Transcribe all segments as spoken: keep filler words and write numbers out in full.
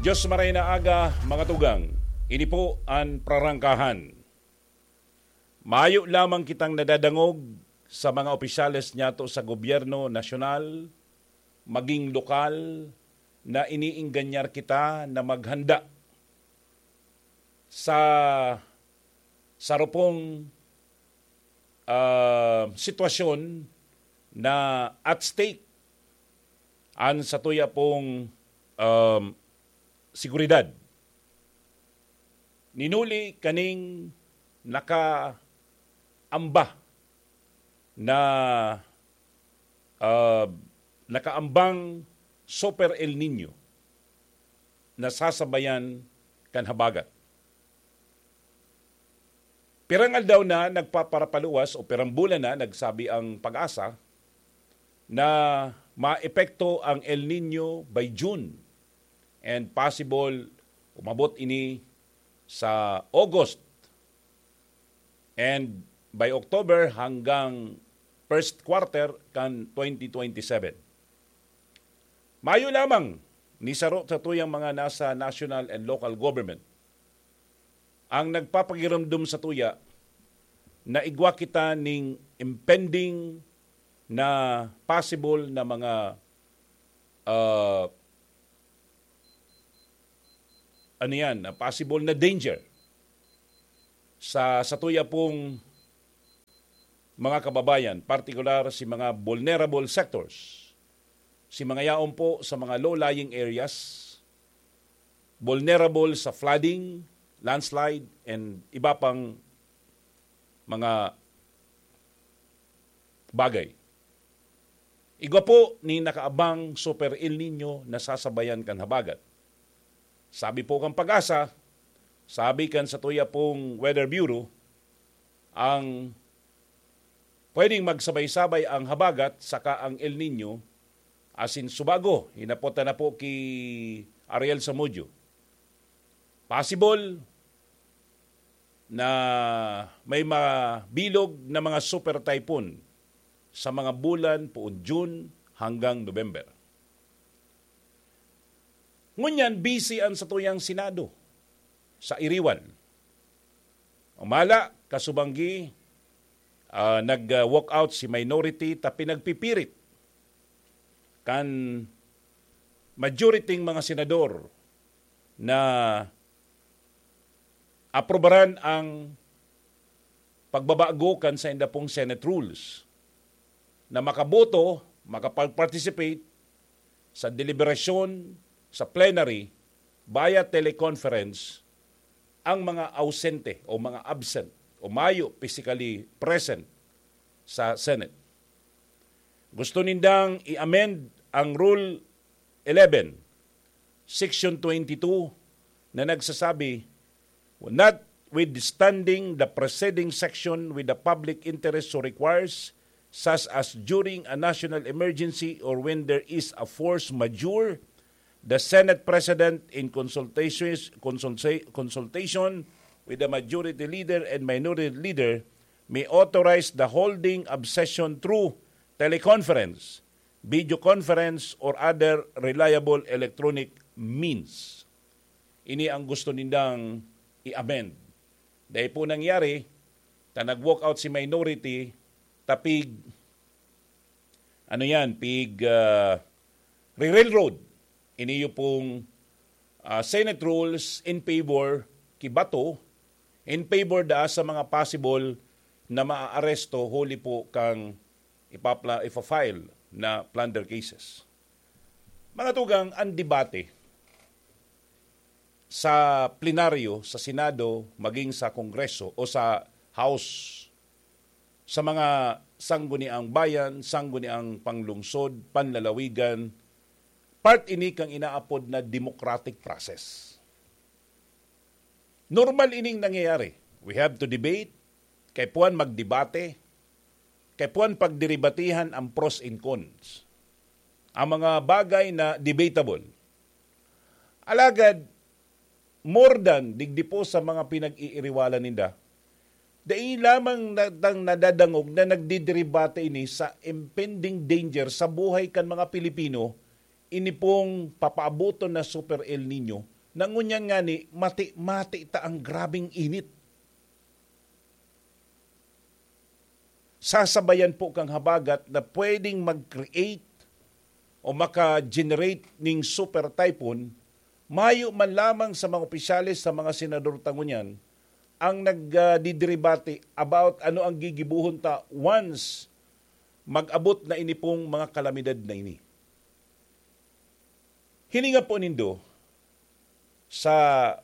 Diyos maray na aga, mga tugang. Ini po an prarangkahan. Mayo lamang kitang nadadangog sa mga opisyales niyato sa gobyerno nasyonal, maging lokal, na iniingganyar kita na maghanda sa sarupong, ah, sitwasyon na at stake an satuya pong, um, seguridad. Ninuli kaning nakaamba na, ah, nakaambang Super El Niño na sasabayan kan habagat. Pirang aldaw na nagpaparapaluwas o pirang bulan na nagsabi ang PAGASA na maepekto ang El Niño by June and possible umabot ini sa August and by October hanggang first quarter kan twenty twenty-seven. Mayo lamang ni saro satuyang mga nasa national and local government ang nagpapagiromdom satuya na igwa kita ning impending na possible na mga, ah, ano yan, na possible na danger sa satuya pong mga kababayan, partikular si mga vulnerable sectors, si mga yaon po sa mga low-lying areas, vulnerable sa flooding, landslide, and iba pang mga bagay. Igwa po ni nakaabang Super El Nino na sasabayan kan habagat. Sabi po kan PAGASA, sabi kan satuya pong Weather Bureau, ang pwedeng magsabay-sabay ang habagat saka ang El Nino, asin subago, hinapot na po ki Ariel Zamudio. Possible na may mabilog na mga super typhoon sa mga bulan poon June hanggang November. Ngunyan, busy an satuyang Senado sa iriwal. Umala, kasubanggi, ah, nag-, ah, walk out si minority ta pinagpipirit kan majority mga senador na aprobaran ang pagbabago kan sainda pong Senate rules na makaboto, makapag-participate sa deliberasyon sa plenary via teleconference ang mga ausente o mga absent o mayo physically present sa Senate. Gusto nindang i-amend ang Rule eleven, Section twenty-two, na nagsasabi, "Notwithstanding the preceding section with the public interest so requires, such as during a national emergency or when there is a force majeure, the Senate President, in consultations, consulta-, consultation with the majority leader and minority leader, may authorize the holding of session through teleconference, video conference, or other reliable electronic means." Ini ang gusto nindang i-amend. Dai po nangyari, ta nag-walk out si minority, tapig, ano yan, pig, ah, re-railroad. Iniyo pong, ah, Senate rules in favor ki Bato, in favor da sa mga possible na maaaresto huli po kang ipapla-, ipa-file na plunder cases. Mga tugang, ang debate sa plenaryo, sa Senado, maging sa Kongreso o sa House, sa mga sangguniang bayan, sangguniang panglungsod, panlalawigan, part ini kan inaapod na democratic process. Normal ining nangyayari. We have to debate, kaipuhan magdebate, kaipuhan pagderebatihan ang pros and cons, ang mga bagay na debatable. Alagad, more than digdi po sa mga pinag-iiriwalan ninda, dai lamang na-, tang nadadangog na nagdiderebate ini sa impending danger sa buhay kan mga Pilipino ini pong papaaboton na Super El Nino, na ngunyan ngani, mati-mati ta ang grabeng init. Sasabayan po kang habagat na pwedeng mag-create o maka-generate ning super typhoon, mayo man lamang sa mga opisyales, sa mga senador ta ngunyan, ang nagdidiribate about ano ang gigibuhon ta once mag-abot na ini pong mga kalamidad na ini. Hilinga po nindo, sa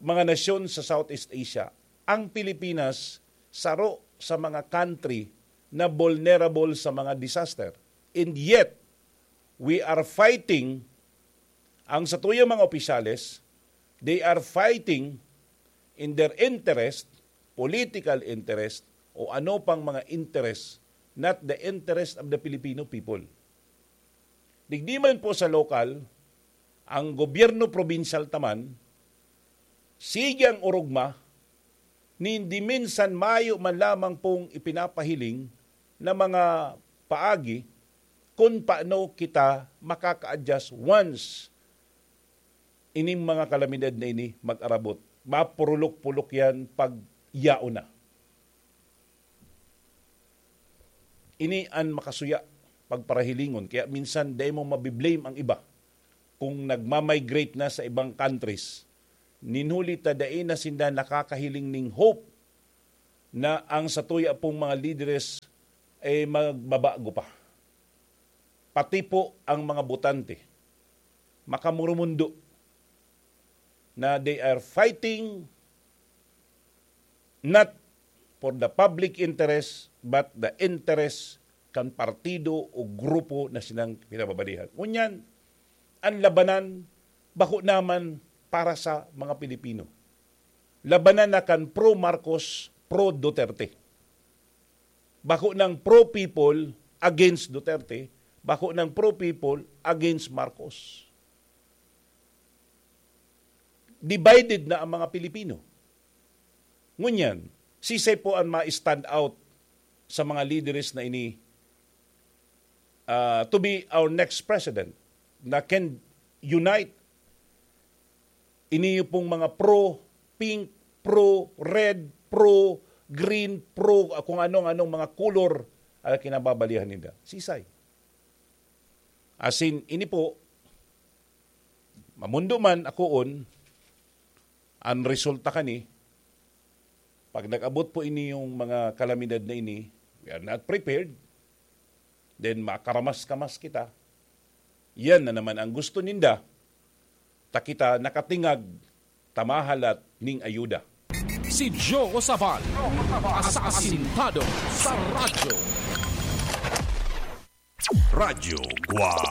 mga nasyon sa Southeast Asia, ang Pilipinas saro sa mga country na vulnerable sa mga disaster. And yet, we are fighting, ang satuyang mga opisyales, they are fighting in their interest, political interest, o ano pang mga interest, not the interest of the Filipino people. Digdi man po sa lokal, ang gobyerno probinsyal ta man, sige ang orogma, nin di minsan mayo man lamang pong ipinapahiling na mga paagi kun paano kita makaka-adjust once ining mga kalamidad na ini mag-arabot. Mapurulok-pulok yan pag yaon na. Ini an makasuya pagparahilingon. Kaya minsan, dai mo mabiblame ang iba kung nagmamigrate na sa ibang countries. Nin huli ta, dai na sinda nakakahiling ning hope na ang satuya pong mga lideres ay magbabago pa. Pati po ang mga botante, makamurumundo na they are fighting not for the public interest, but the interest kan partido o grupo na sinang pinababalihan. Ngunyan, ang labanan, bako naman para sa mga Pilipino. Labanan na kan pro-Marcos, pro-Duterte. Bako ng pro-people against Duterte, bako ng pro-people against Marcos. Divided na ang mga Pilipino. Ngunyan, sisay po ang ma-stand out sa mga lideres na ini, ah, to be our next president na can unite ini pong mga pro-pink, pro-red, pro-green, pro, ah, kung anong-anong mga kulor ang kinababalihan nila. Sisay? As in, ini po, mamundo man akoon, ang resulta kani, pag nag-abot po ini yung mga kalamidad na ini, we are not prepared, then makaramas-kamas kita. Yan na naman ang gusto ninda, ta kita nakatingag, tamahalat ning ayuda. Si Joe Sabal, asasintado sa radyo. Radyo Guam.